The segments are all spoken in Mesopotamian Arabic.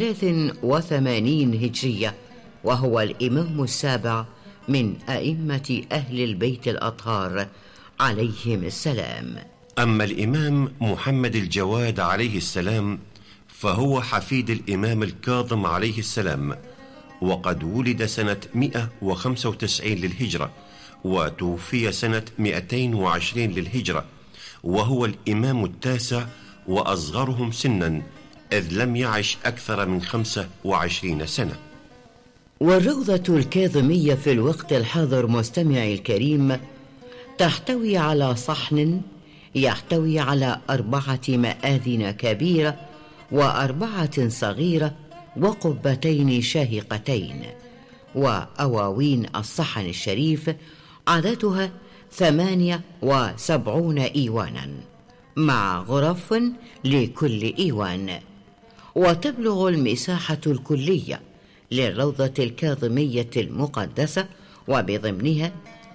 83 هجرية، وهو الإمام السابع من أئمة أهل البيت الأطهار عليهم السلام. أما الإمام محمد الجواد عليه السلام فهو حفيد الإمام الكاظم عليه السلام، وقد ولد سنة 195 للهجرة وتوفي سنة 220 للهجرة، وهو الإمام التاسع وأصغرهم سنا، إذ لم يعش أكثر من 25 سنة. والروضة الكاظمية في الوقت الحاضر مستمعي الكريم تحتوي على صحن يحتوي على 4 مآذن كبيرة و4 صغيرة وقبتين شاهقتين، وأواوين الصحن الشريف عددها 78 إيوانا مع غرف لكل إيوان. وتبلغ المساحة الكلية للروضة الكاظمية المقدسة وبضمنها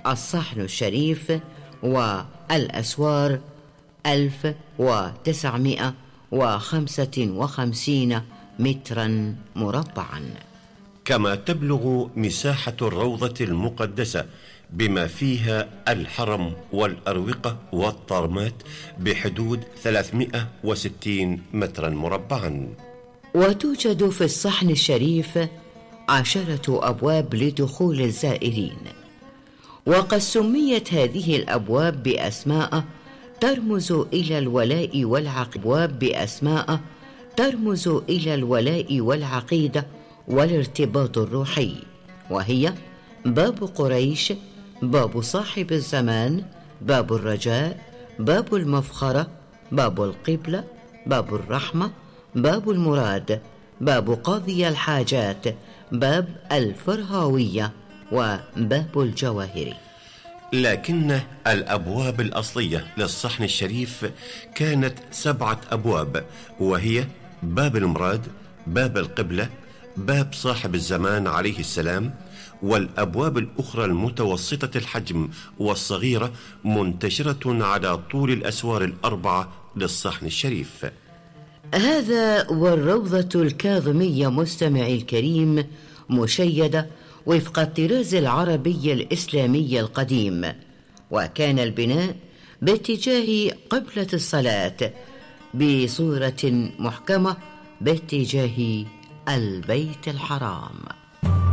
الصحن الشريف والأسوار 1955 مترا مربعا. كما تبلغ مساحة الروضة المقدسة بما فيها الحرم والأروقة والطرمات بحدود 360 مترا مربعا. وتوجد في الصحن الشريف 10 أبواب لدخول الزائرين، وقد سميت هذه الأبواب بأسماء ترمز إلى الولاء والعقيدة والارتباط الروحي، وهي باب قريش، باب صاحب الزمان، باب الرجاء، باب المفخرة، باب القبلة، باب الرحمة، باب المراد، باب قاضي الحاجات، باب الفرهاوية، وباب الجواهر. لكن الأبواب الأصلية للصحن الشريف كانت 7 أبواب، وهي باب المراد، باب القبلة، باب صاحب الزمان عليه السلام، والأبواب الأخرى المتوسطة الحجم والصغيرة منتشرة على طول الأسوار ال4 للصحن الشريف. هذا والروضة الكاظمية مستمعي الكريم مشيدة وفق الطراز العربي الإسلامي القديم، وكان البناء باتجاه قبلة الصلاة بصورة محكمة باتجاه البيت الحرام.